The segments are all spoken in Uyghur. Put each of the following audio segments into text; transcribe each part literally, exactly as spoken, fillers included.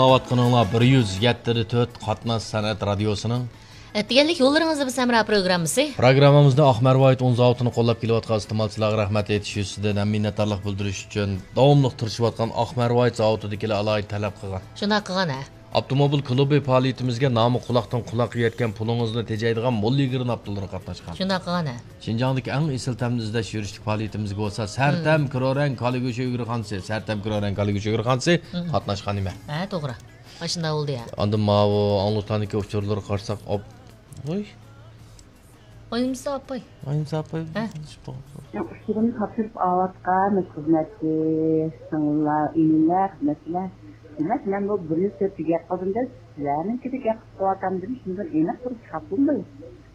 ئاڭلاۋاتقىنىڭلار بىر يۈز يەتتە تۆت قاتناش سەنئەت رادىيوسىنىڭ ئەتىگەنلىك يوللىرىڭىزدا بىز ھەمراھ پروگراممىسى. پروگراممىمىزدا ئاق مەرۋايىت ئۇن زاۋۇتىنى قوللاپ كېلىۋاتقان ئىستېمالچىلارغا رەھمەت ئېيتىش يۈزىسىدىن ھەم مىننەتدارلىق بىلدۈرۈش ئۈچۈن داۋاملىق تىرىشىۋاتقان ئاق مەرۋايىت زاۋۇتىدىكىلەر ئالاھىدە تەلەپ قىلغان. شۇنداق قىلغان ھە. ئاپتوموبىل كۇلۇبى پائالىيىتىمىزگە نامى قۇلاقتىن قۇلاققا يەتكەن پۇلىڭىزنى تېجەيدىغان موللىگرىن ئاپتولىرى قاتناشقان. شۇنداق قىلغان ھە. شىنجاڭدىكى ئەڭ ئېسىل تەمنى ئىزدەش يۈرۈشلۈك پائالىيىتىمىزگە بولسا سەرتەم كرورەڭ كالىگۈشى ئۆگرىخانىسى، سەرتەم كرورەڭ كالىگۈشى ئۆگرىخانىسى قاتناشقان نېمە؟ ھە، توغرا. ئاشۇنداق بولدى يا. ئاندىن ماۋۇ ئاڭلىقلاردىكى ئۇچۇرلىرىغا قارىساق، ئاپ-، ۋوي. ئاينىمسا ئاپاي. ئاينىمسا ئاپاي. ھە؟ ئۇچۇرىنى تاپشۇرۇپ ئاۋاتقان خىزمەتچى، سىڭىللار، ئىنىلەر، خىزمەتچىلەر. دېمەك، مەن بۇ بىر يۈز تۆتتە گەپ قىلدىم دەپ، سىلەرنىڭكىدە گەپ قىلىپ قىلىۋاتامدىم، شۇنداق ئېنىق بىر چاپلىماي.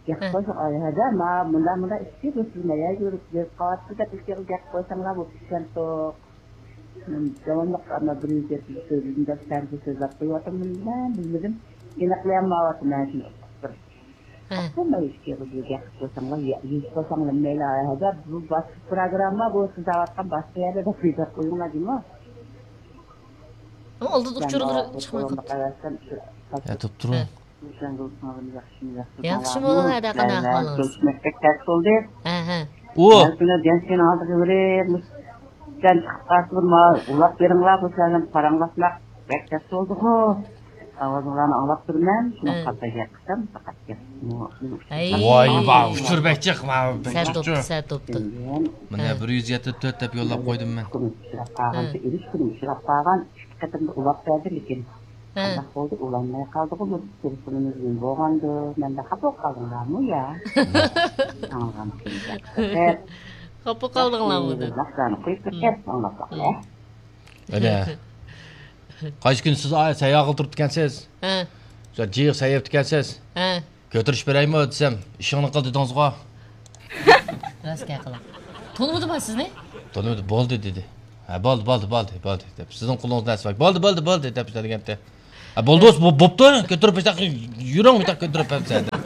گەپ قىلسا، ئاي، ھەدە، ما، مۇنداق، مۇنداق ئىشتى، بۇ سىز مەيەر يۈرۈپ، يۈرۈپ قاۋاتتى دەپ ئىشقىلىپ گەپ قىلساڭلار، بۇ پىششانتۇق. داۋاملىق ئەمما بىر يۈز يەتمىش سۆزدىن دەپ سەنسە سۆزلەپ قويۇۋاتىمەن، بىلمىدىم. ئېنىقلىيالمايۋاتىمەن شۇنى بىر. ھە. ئاپتوموبىل ئىشىكىگە گەپ قىلساڭلار، يا-، يۈز قىلساڭلار مەيلى، ھەدە، بۇ باشقا پروگرامما بۇ سىز دەۋاتقان باشقا يەردە دەپ يېزىپ قويۇڭلار جۇمۇ. ئۇ ئالدىدا ئۇچۇرلىرى چىقماي قاپتۇ. ھە، تۇرۇپ تۇرۇڭ. ھە. ياخشىمۇ، ھەدە، قانداق ئەھۋالىڭىز؟ كۆرۈشمەسكە تەس بولدى. ھە، ھە. ئۇ. ھەر كۈنى جەنسىنىڭ ئالدىغا بېرىپ، جان چىقىپ قالسىمۇ، ماڭا ئۇلاپ بېرىڭلار، بۇ سەردىن پاراڭلاشماق بەك تەس بولدىغۇ. ئاۋازىڭلارنى ئاڭلاپ تۇرىمەن، شۇنىڭ ھە. قاتتىق گەپ قىلسام، پەقەت گەپ. ھەي. ۋاي، ۋاي، ئۇچۇر بەك جىق، مانا بەك سەت جىق. بوپتۇ، سەت بوپتۇ. مانا ھە. بىر يۈز يەتتە تۆت دەپ يوللاپ قويدۇم مەن. كۈنى ئۇچراپ قالغان، ھە. ئېلىش كۈنى ئۇچراپ قالغان، ئىككى قېتىمدا ئۇلاپ بەردى، لېكىن ھە. قانداق بولدى، ئۇلانماي قالدىغۇ، بۇ تېلېفونىمىز گۈل بولغاندۇ، مەندە خاپا بولۇپ قالدىڭلارمۇ يا؟ ئاڭلىغان كۈنى خاپا قالدىڭلارمۇ دەپ. ناخشىلارنى قويۇپ بىر كەپ ئاڭلاپ باقىلى. ئەنە. قايسى كۈنى سىز، ئاي، سەيياغا تۇرۇپتىكەنسىز؟ ھە. شۇ جىق سەيياپتىكەنسىز؟ ھە. كۆتۈرۈش بېرەيمۇ دېسەم، ئىشىڭنى قىل دېدىڭىزغۇ. راست گەپ قىلىڭ. تونۇمىدىما سىزنى؟ تونۇمىدى، بولدى دېدى. ھە، بولدى، بولدى، بولدى، بولدى دەپ، سىزنىڭ قولىڭىزدا نەرسە بار. بولدى، بولدى، بولدى دەپ دېگەنتى. ھە، بولدى، بولسا بو-، بوپتۇ، كۆتۈرۈپ بېرسەك، يۈرۈڭ، بۇياققا كۆتۈرۈپ بەرسە دەپ.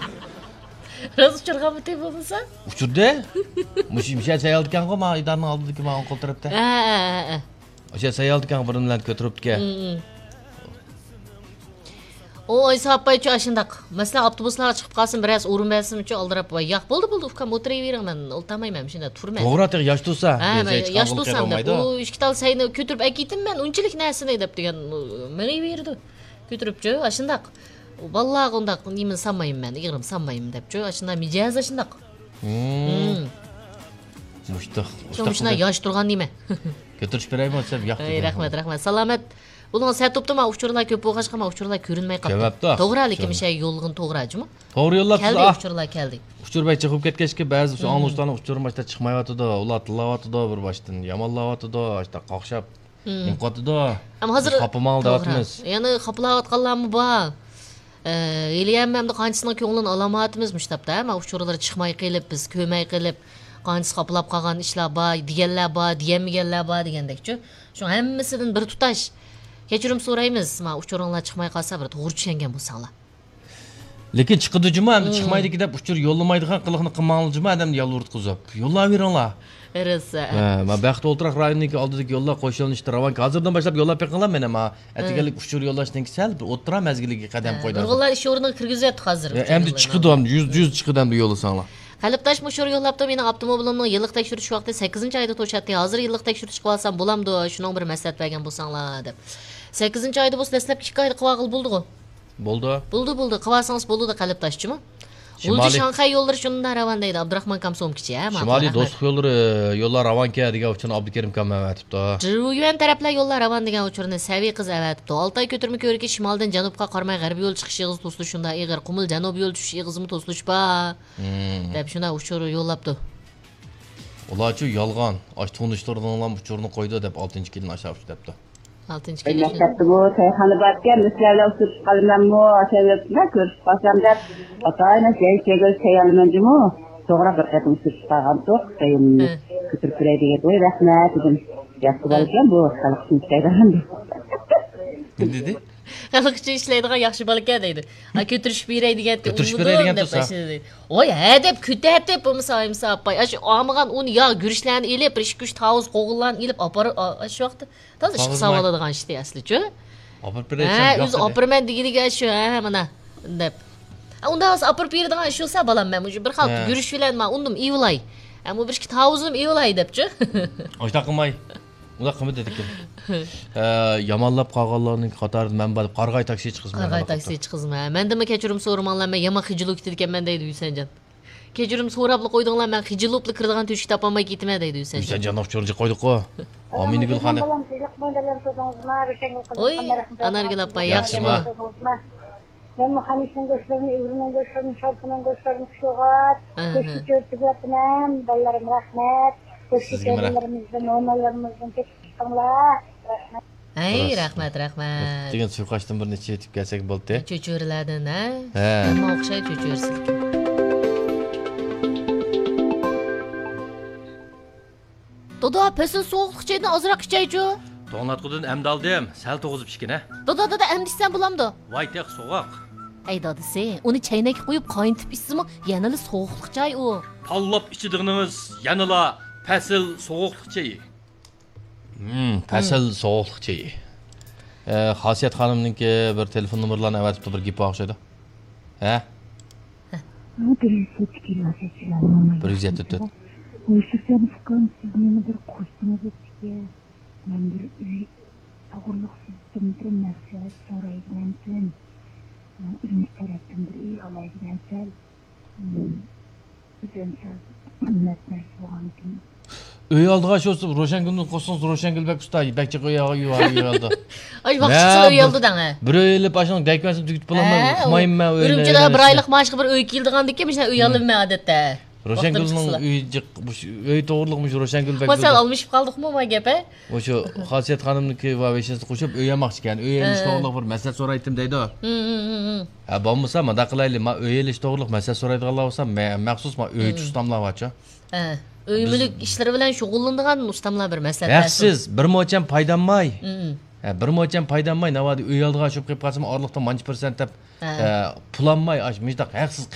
راست ئۇچۇرغانمىتى بولمىسا؟ ئۇچۇردى. مۇشۇ، مۇشۇ سەييالدىكەنغۇ، ما ئىدارىنىڭ ئالدىدىكى ما ئوڭ قول تەرەپتە. ھە، ھە، ھە، ھە. ئاشۇ سەييالدىكەن بىرىنى بىلەن كۆتۈرۈپتىكەن. ھە، ھە. ئۇ ئايسا ئاپايچۇ ئاشۇنداق. مەسىلەن، ئاپتوبۇسلارغا چىقىپ قالسىمۇ، بىرەرسى ئورۇن بەرسىمۇچۇ ئالدىراپ، ۋاي، ياق، بولدى، بولدى، ئۇكام، ئولتۇرۇۋېرىڭ، مەن ئولتۇرمايمەن، شۇنداق تۇرىمەن. توغرا، تېخى ياش تۇرسا. ھە، مەن ياش تۇرسام دەپ، ئۇ ئىككى تال سەينى كۆتۈرۈپ ئەكېتىمەن، ئۇنچىلىك نەرسىنى دەپ دېگەن، مېڭىۋېرىدۇ. كۆتۈرۈپچۇ، ئاشۇنداق. بالىلارغا ئۇنداق نېمىنى سالمايمەن مەن، ئېغىرىم سالمايمەن دەپچۇ، ئاشۇنداق مىجەز ئاشۇنداق. ھىم. مۇشتاق، شۇڭا مۇشۇنداق ياش تۇرغان نېمە. كۆتۈرۈش بېرەيمۇ دېسەم، ياق دېدى. رەھمەت، رەھمەت. سالامەت. بولۇڭ، سەت بوپتۇ، ما ئۇچۇرلار كۆپ بولغاچقا، ما ئۇچۇرلار كۆرۈنمەي قاپتۇ. كۆرمەپتۇ. توغرا، لېكىن مۇشۇ يوللىغىن توغرا جۇمۇ. توغرا يوللاپسىز، كەلدى، ئۇچۇرلار كەلدى. ئۇچۇر بەك چىقىپ كەتكەچكە، بەزى شۇ ئاڭلىغۇچىلارنىڭ ئۇچۇرى ماشتا چىقمايۋاتىدۇ، ئۇلار تىللاۋاتىدۇ بىر باشتىن، يامانلاۋاتىدۇ، ئاشتا قاقشاپ. نېمە قىلىۋاتىدۇ؟ ئەمما ھازىر خاپىماڭ دەۋاتىمىز. يەنە خاپىلاۋاتقانلارمۇ بار. ئە، ھېلىيەم ئەمدى قانچىسىنىڭ كۆڭلىنى ئالالمايۋاتىمىز مۇشۇ تاپتا، ھە؟ ما ئۇچۇرلىرى چىقماي قېلىپ، بىز كۆرمەي قېلىپ، قانچىسى خاپىلاپ قالغان ئىشلار بار، دېگەنلەر بار، دېيەلمىگەنلەر بار دېگەندەكچۇ. شۇ ھەممىسىدىن بىر تۇتاش كەچۈرۈم سورايمىز، ما ئۇچۇرۇڭلار چىقماي قالسا، بىر توغرا چۈشەنگەن بولساڭلار. لېكىن چىقىدۇ جۇمۇ، ئەمدى چىقمايدىكى دەپ ئۇچۇر يوللىمايدىغان قىلىقنى قىلماڭلار جۇمۇ، ئادەمنى يالۋۇرتقۇزۇپ. يوللاۋېرىڭلار. رەسسا. ھە، ما بەخت ئولتۇراق رايونىنىڭكى ئالدىدىكى يوللار قوش يۆنىلىشتە راۋانكى. ھازىردىن باشلاپ يوللاپ بېقىڭلار مېنى، ما ئەتىگەنلىك ئۇچۇر يوللاشنىڭكى سەل بىر ئوتتۇرا مەزگىلگە قەدەم قويدۇق. نۇرغۇنلار ئىش ئورنىغا كىرگۈزۈۋەتتۇق ھازىر. ھە، ئەمدى چىقىدۇ، ئەمدى يۈز، يۈز چىقىدۇ ئەمدى يوللىساڭلار. قەلبداش مۇشۇ يوللاپتۇ، مېنىڭ ئاپتوموبىلىمنىڭ يىللىق تەكشۈرتۈش ۋاقتى سەككىزىنچى ئايدا توشاتتى. ھازىر يىللىق تەكشۈرتۈش قىلىۋالسام بولامدۇ؟ شۇنىڭ بىر مەسلىھەت بەرگەن بولساڭلار دەپ. سەككىزىنچى ئايدا بولسا دەسلەپكى ئىككى ئايدا قىلىۋالغىلى بولىدىغۇ؟ بولدى. بولدى، بولدى. قىلىۋالسىڭىز بولىدۇ، قەلبداشچىمۇ. شىمالىي غۇلجا شاڭخەي يوللىرى شۇنداق راۋان دەيدۇ، ئابدۇراخمان كامسومكىچى، ھە، ماڭا شىمالىي رەھمەت. دوستلۇق يوللىرى، يوللار راۋانكەن دېگەن ئۇچۇرنى ئابدۇكېرىم كام ئەۋەتىپتۇ. جىرۇيۈەن تەرەپلەر يوللار راۋان دېگەن ئۇچۇرنى سەۋىي قىز ئەۋەتىپتۇ. ئالتاي كۆتۈرمە كۆۋرۈكى شىمالدىن جەنۇبقا قارىماي غەربىي يول چىقىش ئېغىزى توسۇلۇش شۇنداق ئېغىر. قۇمۇل جەنۇبىي يول چۈشۈش ئېغىزىمۇ توسۇلۇش بار. دەپ شۇنداق ئۇچۇر يوللاپتۇ. ئۇلارچۇ يالغان، ئاشۇ تونۇشلىرىنىڭلام ئۇچۇرىنى قويدى دەپ ئالتىنچى كىلىنى ئاشاپ دەپتۇ. ئالتىنچى كىلىنى. مەكتەپتىمۇ چايخانا باركەن، بىر سىلەر بىلەن ئۇچرىشىپ قالىمەنمۇ، ئاشۇ يەردە كۆرۈشۈپ قالسام دەپ، ئاتايىنى جاي چېگىل چايالىمەن جۇمۇ. توغرا بىر قېتىم ئۇچرىشىپ قالغانتۇق، دايىمنى كۆتۈرۈپ بېرەي دېگەن، ۋاي رەھمەت دېدىم. ياخشى بالىكەن بۇ، خەلق ئۈچۈن ئىشلەيدىغان. نېمە دېدى؟ خەلق ئۈچۈن ئىشلەيدىغان ياخشى بالىكەن دەيدۇ. ھە، كۆتۈرۈشۈپ بېرەي دېگەن، كۆتۈرۈشۈپ بېرەي دېگەن دەپ تۇرسا. ۋاي ھە دەپ كۆتەرتىپ بولمىسا ئايمىسا ئاپاي. ئاشۇ ئالمىغان ئۇن ياغ گۈرۈچلەرنى ئېلىپ، بىر ئىككى ئۈچ تاۋۇز قوغۇنلارنى ئېلىپ ئاپىرىپ، ئا-، ئاشۇ ۋاقىتتا تازا ئىشقا ساۋالىدىغان ئىشتى ئەسلىچۇ. ئاپىرىپ بېرەي ھە، دېسەم، ياق ئۆزى دېدى. ئاپىرىمەن دېگىنىگە شۇ، ھە، مانا، دەپ. ھە، ئۇنداق بولسا ئاپىرىپ بېرىدىغان ئىش بولسا، بالام، مەن مۇشۇ بىر خىل ھە. يۈرۈش بىلەن مانا ئۇندىم ئېۋىلاي. ھە، بۇ بىر ئىككى تاۋۇزنىم ئېۋىلاي دەپچۇ. ئاشۇنداق قىلماي. ئۇنداق قىلما دېدىكىن. ھە، يامانلاپ قالغانلارنىڭ قاتارىدا مەن بار دەپ قارىغاي تاكسى چىقىسىز، مەن قارىغاي تاكسى چىقىسىز، ھە. مەندىنمۇ كەچۈرۈم سورىماڭلار، مەن يامان خىجىللىق كېتىدىكەنمەن دەيدۇ ھۈسەنجان. كەچۈرۈم سوراپلا قويدۇڭلار، مەن خىجىللۇقلا كىرىدىغان تۆشۈك تاپالماي كېتىمەن دەيدۇ ھۈسەنجان. ھۈسەنجاننىڭ ئۇچۇرىنى قويدۇققۇ. ئامىنە گۈلخانىم. بالام، سىزلىق بىلەن تۇردىڭىزما؟ روشەنگۈل قىزىم، ئوي، قانداق ئەھۋال؟ ئانارگۈل ئاپا، ياخشىمۇ؟ ياخشىمۇ؟ مەنمۇ خەمىشنىڭ گۆشلىرىنى، ئۆگرىنىڭ گۆشلىرىنى، شورپىنىڭ گۆشلىرىنى پىشۇرغاچ، ئاھا. گۆشنى چۆرۈتۈۋەتىمەن. بالىلىرىم، رەھمەت. گۆشنى سىزگىمۇ رەھمەت. چۆرىلىرىمىزدىن، نونالىرىمىزدىن تېپىپ چىقىڭلار. رەھمەت. ھەي، راست. رەھمەت، رەھمەت. دېگەن سۇيقاشتىن بىر نەچچە يېتىپ كەلسەك بولدى. چۆچۈرىلەردىن، ھە؟ ھە. ھەممە ئوخشاي چۆچۈرىسىلىكىن. دادا، پەسىل سوغۇقلۇق چايدىن ئازراق ئىچەيچۇ. توڭلاتقۇدىن ئەمدى ئالدىم، سەل توغۇزۇپ ئىچكىنە. دادا، دادا، ئەمدى ئىچسەم بولامدۇ؟ ۋاي تېخى سوغۇق. ئەي دادىسى، ئۇنى چەينەككە قويۇپ قاينىتىپ ئىچسىمۇ يەنىلا سوغۇقلۇق چاي ئۇ. تاللاپ ئىچىدىغىنىڭىز يەنىلا پەسىل سوغۇقلۇق چېيى. ھىم، پەسىل سوغۇقلۇق چېيى. ئە، خاسىيەت خانىمنىڭكى بىر تېلېفون نومۇرلارنى ئەۋەتىپتۇ، بىر گېپى بار ئوخشايدۇ. ھە؟ بىر يۈز يەتتە تۆت. ۋوي، سۈرسەن ئۇكام، سىز مېنى بىر قوشتىڭىز ئۆتكە. مەن بىر ئۆي توغرۇلۇق سىزدىن بىر مەسلىھەت سوراي دېگەنتىم. ئۆيىمىز تەرەپتىن بىر ئۆي ئالاي دېگەنتىم. ئۆزۈم سەل قىممەت نەرسە بولغانكىن. ئۆي ئالىدىغان شۇ روشەنگۈلنى قوشسىڭىز، روشەنگۈل بەك ئۇستا، بەك جىق ئۆي ئال-، ئۆي ئال-، ئۆي ئالىدۇ. ئاي، ۋاقىت مەن چىقسا ئۆي بىر، ئالىدۇ دەڭە. بىر ئۆي ئېلىپ، ئاشۇنىڭ دەكمەسىنى تۈگىتىپ بولالمايمەن، ھە، ئۇقمايمەن مەن ئۆينى، ئۈرۈمچىدە ئۆينى بىر ئايلىق مائاشقا بىر ئۆي كېلىدىغاندىكىن، مۇشۇنداق ئۆي ھىم. ئالىمەن ئادەتتە. روشەنگۈلنىڭ ئۆيى جىق، مۇشۇ ئۆي توغرىلىق مۇشۇ روشەنگۈل بەك ما سەل ئالمىشىپ قالدۇقمۇ ما گەپ، ھە؟ مۇشۇ خاسىيەت خانىمنىڭكى ۋە ۋېشنىسىنى قوشۇپ ئۆي ئالماقچى ئىكەن. ئۆي ئېلىش ھە. توغرىلىق بىر مەسلىھەت سورايتتىم دەيدۇ. ھىم، ھىم، ھىم، ھىم. ھە، بولمىسا مۇنداق قىلايلى، ما ئۆي ئېلىش توغرىلىق مەسلىھەت سورايدىغانلار بولسا، مە-، مەخسۇس ما ئۆي ھىم. ئۇستاملار بارچۇ. ھە، ئۆي بىز مۈلۈك ئىشلىرى بىلەن شۇغۇللىنىدىغان ئۇستاملار بىر مەسلىھەت بەرسۇن. ھەقسىز، بىر موچەن پايداماي. ھىم. ھە، بىر موچەن پايداماي، ناۋادا ئۆي ئالىدىغان شۇ قىلىپ قالسىمۇ ئارىلىقتا مانچە پىرسەنت دەپ، ھە. ئە، پۇلانماي، ئاش-، مۇشۇنداق ھەقسىز قىلىپ